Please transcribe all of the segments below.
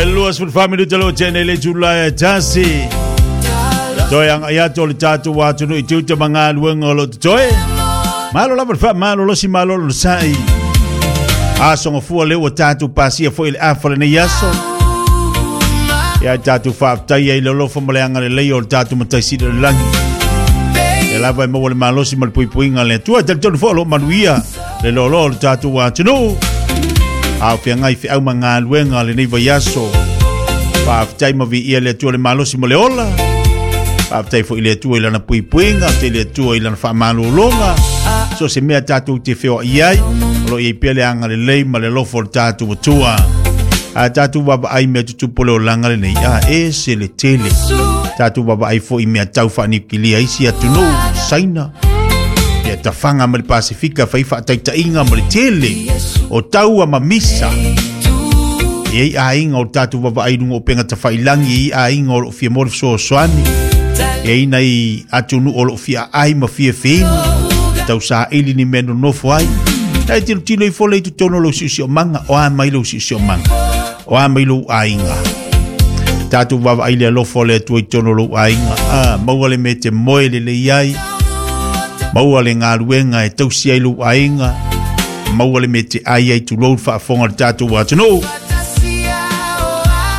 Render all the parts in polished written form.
E 24 minuta lo tene le tula e tasi. Toe anga ia to le tātou atunuu i tiute ma galuega o lo totoe. Malo lava le faamalo losi malo lo sai. Aso gafua le ua tātou pasia foi le afa lenei aso. Ia tātou faafetai ai le alofa ma le agalelei o le tātou Matai Sili o le lagi. Ia lava e maua le malosi ma le puipuiga a le Atua. E talitonu foi o lo o manuia le loaloa o le tātou atunuu. A o feagai feau ma galuega lenei vaiaso. Faafetai ma viia le Atua le malosi ma le ola. Faafetai foi i le Atua i lana puipuiga, faafetai i le Atua i lana faamalologa. So se mea tātou te feoai ai, o lo o i ai pea le agalelei ma le alofa o le tātou Atua. A tātou vaavaai mea tutupu o le olaga lenei, a e se le tele. Tātou vaavaai foi i mea tau faaniukilia isi atunuu, Saina, ia tafaga ma le Pasifika fai faataitaiga ma le tele o taua ma misa. E i ai aiga o tātou vaavaai i luga o upega tafailangi, e i ai aiga o lo o fia maua le fesoasoani, e i ai nai atunuu o lo o fia aai ma fia feinu, tau saili ni mea nonofo ai. E tilotilo ifo le i totonu o lou siosiomaga, o a mai lou siosiomaga, o a mai lou aiga. Tātou vaavaai le alofa o le Atua i totonu o lou aiga. Ah, maua le mea e te moe lelei ai, maua le galuega e tausi ai lou aiga, maua le mea e te ai ai tulou le faafofoga o le tātou atunuu.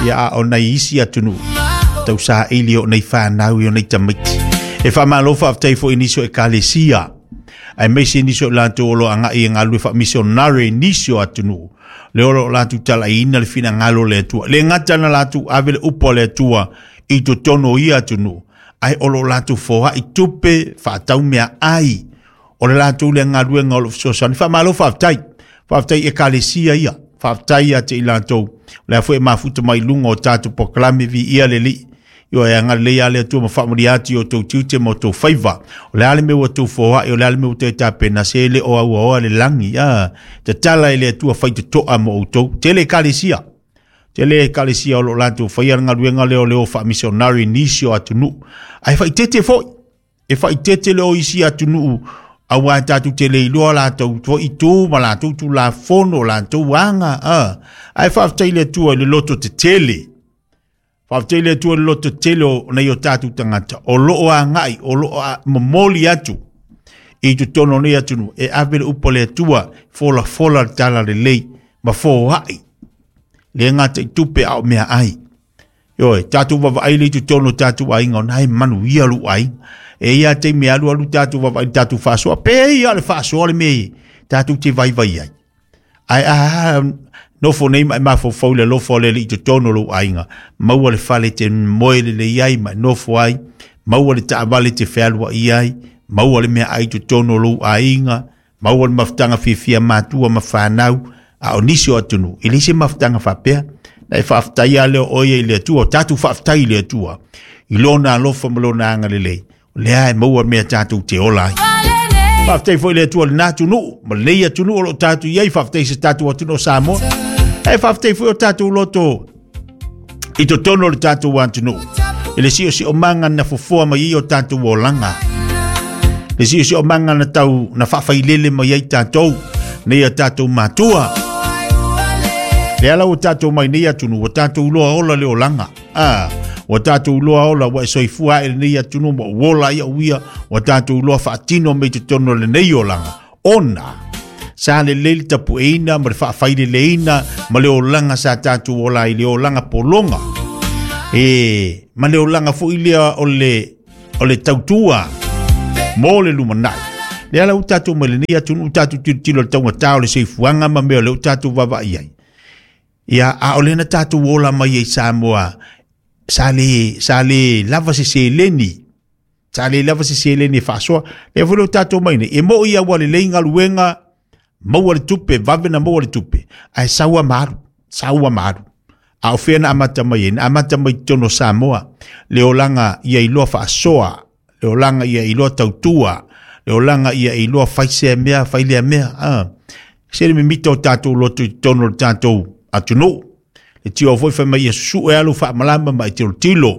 Ia a o nai isi atunuu, tau saili o nei whānau i o nei tamaiti. E whamalo whaafetai fo i nisi o ekalesia, aemaise nisi o latou o lo o agai e galulue faamisionare i nisi o atunuu, le o lo o latou talaiina le finagalo o le Atua. Le gata na latou ave le upu a le Atua i totonu o ia atunuu, ae o lo o latou foai tupe faatau meaai o le latou lea galuega o lo o fesoasoani. Faamalo faafetai. Faafetai i ekalesia ia. Faafetai ia te i latou. O le a foi e mafuta mai i luga o tatou polokalame viia le Alii. Ioe, e agalelei lava le Atua ma faamanuia atu i outou tiute ma outou faiva. O le a le mea ua outou foai, o le a le mea ua toe tapena, se le o auaoa le lagi. A, tatala e le Atua faitotoa mo outou. Tele ekalesia. Tele ekalesia o lo o latou faia le galuega lea o le o faamisionari i nisi o atunuu. Ae faaeteete foi. E faaeteete le o isi atunuu aua tatou te le iloa latou foi itu ma latou tulafono, latou aga. A, ae faafetai i le Atua i le loto tetele. Faafetai i le Atua i le loto tele o nai o tatou tagata o lo o agai, o lo o momoli atu i totonu o nei atunuu e ave le upu a le Atua, folafola le talalelei ma foai le gata i tupe a o meaai. Ioe, tatou vaavaai lea i totonu o tatou aiga, o na e manuia lou aiga. E i ai lava taimi e alualu tatou vaavaai i le tatou faasoa, pei lava o le faasoa le mea e tatou te vaivai ai. Ae a nofo nei ma e mafaufau i le alofa o le Alii i totonu o lou aiga, maua le fale e te moe lelei ai ma e nofo ai, maua le taavale e te fealuai ai, maua le meaai i totonu o lou aiga, maua le mafutaga fiafia matua ma fanau, a o nisi o atunuu, e leai se mafutaga faapea. Na e faafetai lava lea o oe i le Atua, o tatou faafetai i le Atua, i lona alofa ma lona agalelei, o lea e maua mea tatou te ola ai. Faafetai foi i le Atua i lena atunuu, ma lenei atunuu o lo o tatou i ai, faafetai i se tatou atunuu o Samoa. E faafetai foi o tatou loto i totonu o le tatou atunuu, i le siosiomaga na fofoa mai ai o tatou olaga. Le siosiomaga na tau na faafailele mai ai tatou, nei a tatou matua. Lea la ua tatou mai nei atunuu, ua tatou iloa ola le olaga. A, ua tatou iloa ola, ua e soifua ae lenei atunuu ma ua ola ai au ia, ua tatou iloa faatino mai totonu o lenei olaga, ona sa lelei le tapueina ma le faafaileleina ma le olaga sa tatou ola ai, le olaga pologa. E, ma le olaga foi lea o le, o le tautua mo le lumanai. Lea la ua tatou mai lenei atunuu, tatou tilotilo i le taugata o le soifuaga ma mea o lea ua tatou vaavaai ai. Ia, a o lea na tatou ola mai ai i Samoa, sa le, sa le lava se seleni, sa le lava se seleni e faasoa. Lea foi lea ua tatou mai nei, e moi lava ua lelei galuega, maua le tupe, vave na maua le tupe, ae sau lava ma alu, sau lava ma alu. A o fea na amata mai ai? Na amata mai i totonu o Samoa, le olaga ia iloa faasoa, le olaga ia iloa tautua, le olaga ia iloa fai sea mea, fai lea mea. Ah. Se le mimita o tatou loto i totonu o le tatou atunuu. Le tio foi fai mai ia susue lava lou faamalama ma e tilotilo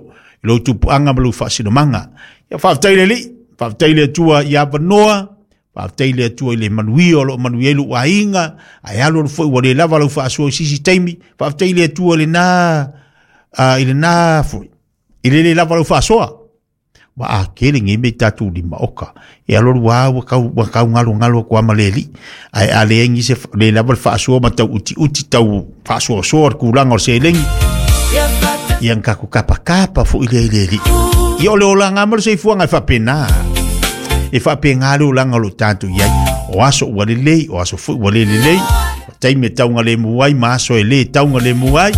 i lou tupuaga ma lou faasinomaga. Ia faafetai le Alii, faafetai le Atua i avanoa. Faafetai i le Atua i le manuia o lo o manuia ai lou aiga, ae alualu foi ua le lava lau faasoa i se isi taimi. Faafetai i le Atua i lena, i lena foi, i le le lava lau faasoa. Ua a tele nei mea i tatou lima oka. E alualu lava ua tau, ua tau galogalo atu lava ma le alii. Ae a leai nisi le lava le faasoa ma tau utiuti, tau faasoasoa le tulaga o le seleni, ia na tatou tapatapa foi lea i le alii. Ia o le olaga ma le soifuaga e faapena. E faapena le olaga o lo o tatou i ai. O aso ua lelei, o aso foi ua le lelei. O taimi e taugalemu ai ma aso e le taugalemu ai.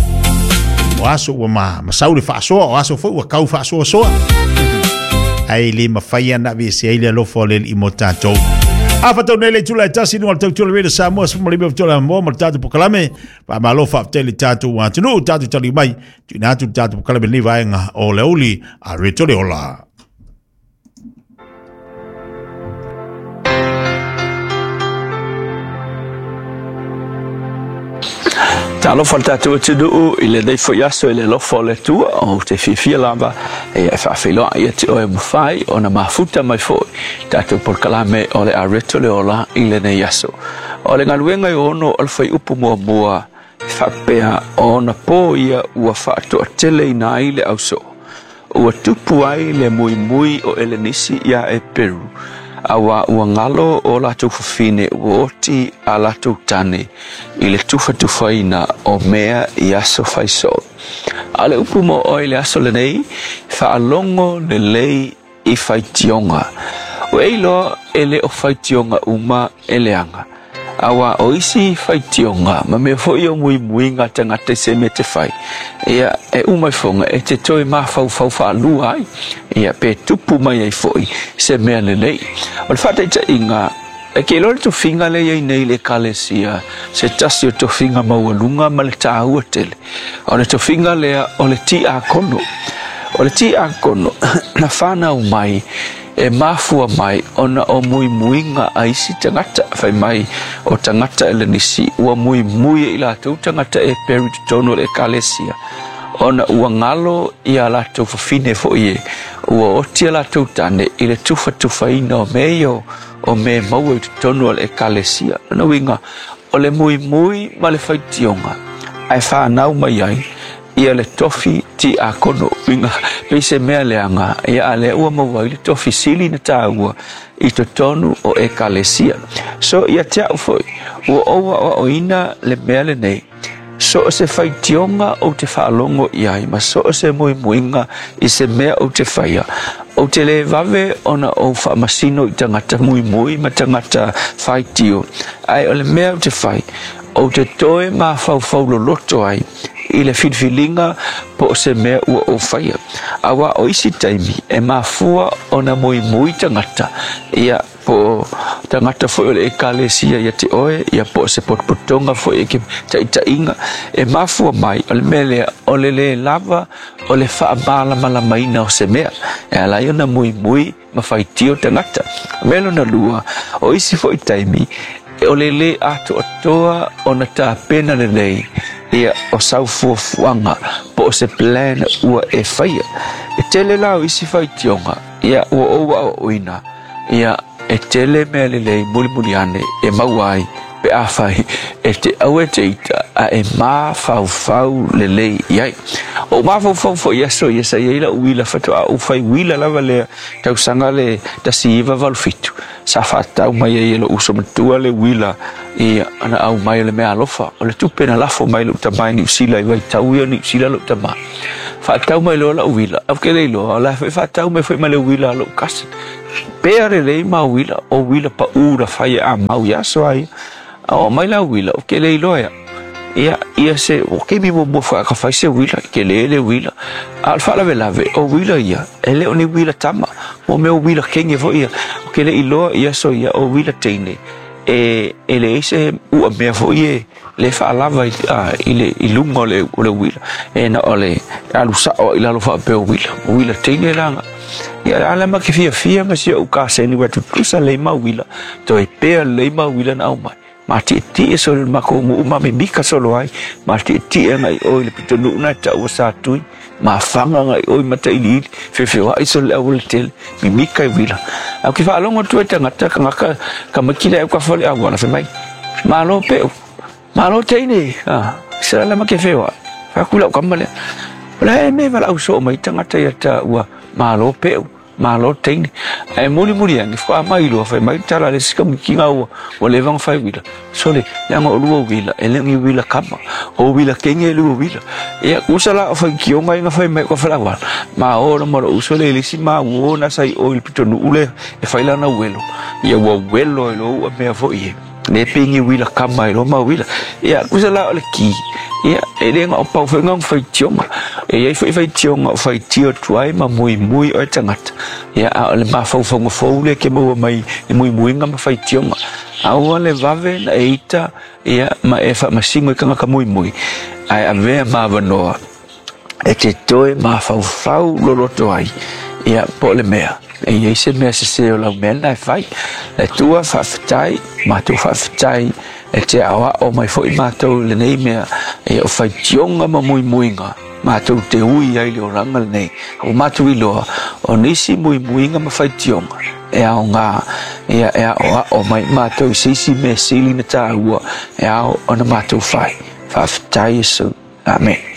O aso ua ma, masau le faasoa, o aso foi ua tau faasoasoa. Ae le mafai ona aveesea ai le alofa o le Alii mo tatou. A fatau nei le itula e tasi luga o le tautua le Radio Samoa 15 o tola moa ma le tatou polokalame. Faamalo faafetai le tatou atunuu, tatou taliu mai. Tuuina atu le tatou polokalame lenei vaega o le aoauli a Reto le Ola. Talofa le tatou atunuu i lenei foi aso i le alofa o le Atua, ou te fiafia lava e faafeiloai ia te oe mafai ona mafuta mai foi tatou polokalame o le Areto le Ola i lenei aso. O le galuega e ono o le fuaiupu muamua e faapea ona po ia ua faatoateleina ai le ausoo. Ua tupu ai le muimui o Elenisi iā Eperu, auā ua galo o latou fafine ua oti a latou tane i le tufatufaina o mea i aso faisoo. A o le upu mo oe i le aso lenei, faalogo lelei i faitioga. Ua e iloa e le o faitioga uma e leaga. Auā o isi faitioga ma mea foi o muimuiga a tagata i se mea te fai, ia, e uma ifoga e te toe mafaufau faalua ai, ia, pe tupu mai ai foi se mea lelei. O le faataitaiga, e ke iloa le tofiga lea e i ai nei i le Ekalesia, se tasi o tofiga maualuga ma le taua tele. O le tofiga lea o le tiakono. O le tiakono, na fanau mai e mafua mai ona o muimuiga a isi tagata. Fai mai o tagata Elenisi ua muimui e i latou tagata Eperu i totonu o le Ekalesia, ona ua galo ia latou fafine foi e ua oti a latou tane i le tufatufaina o mea ia o mea e maua i totonu o le Ekalesia. Lona uiga, o le muimui ma le faitioga ae fanau mai ai ia le tofi tiakono. Uiga, pei se mea leaga, ia a lea ua maua ai le tofi sili na taua i totonu o Ekalesia. So, ia te au foi, ua ou aoaoina le mea lenei, so o se faitioga ou te faalogo i ai ma so o se muimuiga i se mea ou te faia, ou te le vave ona ou faamasino i tagata muimui ma tagata faitio, ae o le mea ou te fai, ou te toe mafaufau loloto ai i le filifiliga po o se mea ua ou faia. Auā o isi taimi e mafua ona muimui tagata, ia, po o tagata foi o le Ekalesia ia te oe, ia po o se potopotoga foi e ke taitaiga, e mafua mai o le mea lea o le lē lava o le faamalamalamaina o se mea e ala ai ona muimui ma faitio tagata. O mea lona lua, o isi foi taimi, o le lē atoatoa ona tapena lelei ia o sau fuafuaga po o se plan ua e faia. E tele la o isi faitioga ia ua ou aoaoina ia e tele mea lelei mulimuli ane e maua ai pe afai e te aua e te ita a e mafaufau lelei i ai. O mafaufau foi i aso ia sa i ai lau uila faatoa ou fai uila lava lea tausaga le 1987 sa faatau mai ai e lou uso matua le uila i ana aumai o le meaalofa o le tupe na lafo mai lou tama i Niu Sila i vaitau ia o Niu Sila lou tama. Faatau mai loa lau uila, au ke le iloa o la foi faatau mai foi ma le uila a lou cousin. Pea lelei ma uila, o uila paʻū na fai e amau i aso a ia. A oo mai la uila, ou ke le iloa ia. Ia, ia se, o keimi muamua foi a ka fai se uila, i tele le uila. A o le faalavelave, o uila ia, e le o ni uila tama, mo mea o uila kenge foi ia. Ou ke le iloa i aso ia, o uila teine, e, e leai se ua mea foi e, le faalava i, a, i le i luga o le, o le uila, e na o le alu sao i lalo faapea o uila, o uila teine la. Ia ala ma ke fiafia ma si ou kaseni ua tutusa lei ma uila, toe pea lei ma uila na aumai. Ma tietie solo le makou nuu ma mimika solo ai, ma tietie agai i o i le pitonuu na e taua Satui. Mafaga agai i o i Matailiili, feofeoai sole le aualatele, mimika i uila. Ae ou te faalogo atu ai i tagata, tagata tamaiti la e autafa o le auala, fai mai, Malo Peu, malo teine, a, se la ma te feoai. Fai atu i lau tama lea, O le a ea mea e valaau soo mai ai tagata ia taua, malo Peu. Malo teine. Ae mulimuli ane, faatoa mai loa, fai mai le tala a le isi tamaitiga ua, ua leva ona fai uila, sole, leaga o lua uila, e le o ni uila kama, o uila teine lua uila. Ia, tusa la o faitioga ia na fai mai o ka faleauala, ma o ma lou uso lea i le isi ma uo na sa i o i le pitonuu lea e fai lana uelo, ia ua uelo ai loa ua mea foi e. Le pei ni uila kama ai loa ma uila. Ia, tusa la o le ki, ia, e le na o pau foi na o faitioga. E i ai foi faitioga o faitio atu ai ma muimui oe tagata. Ia, a o le mafaufauga fou lea e te maua mai i muimuiga ma faitioga. Aua le vave na e ita, ia, ma e faamasino i tagata muimui, ae avea ma avanoa e te toe mafaufau loloto ai, ia, po o le mea, e i ai se mea sese o lau mea lena e fai. Le Atua, faafetai, matou faafetai e te aoao mai foi matou i lenei mea, ia, o faitioga ma muimuiga matou te ui ai i le olaga lenei. Ua matou iloa, o nisi muimuiga ma faitioga e aoga, ia, e aoao mai matou i se isi mea sili na taua e ao ona matou fai. Faafetai Iesu. Amene.